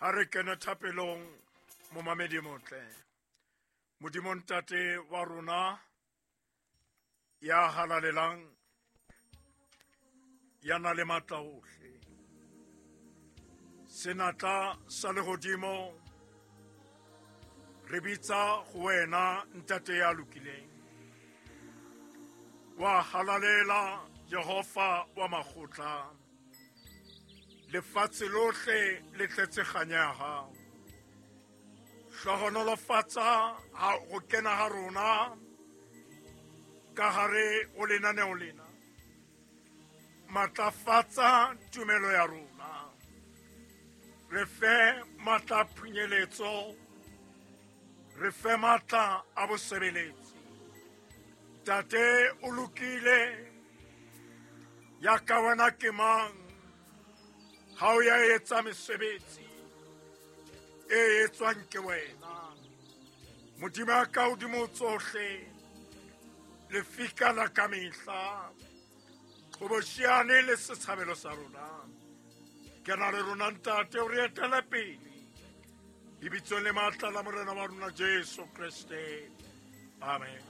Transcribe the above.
Ha re kene thapelong, momamedi motle. Modimo Ntate wa rona ya halalelang, ya na le matla ohle, senatla sa lehodimo, re bitsa go wena Ntate ya lokileng. Wa halalela Jehova wa makgotla, lefatshe lohle le tletse kganya ya hao. Hlohonolofatsa ha go kena ha rona ka hare ho lenaneo lena. Matlafatsa tumelo ya rona, re fe matla a phunyeletso, re fe matla a bosebeletsi. Ntate o lokile, ya ka wena ke mang? Ha o ya etsa mesebetsi e etswang ke wena. Modimo ya ka hodimo tsohle, lefika la ka mehla, qhoboshiane le setshabelo sa rona. Ke na le rona Ntate, o re etele pele lebitsong le matla la Morena wa rona Jesu Kreste, amen.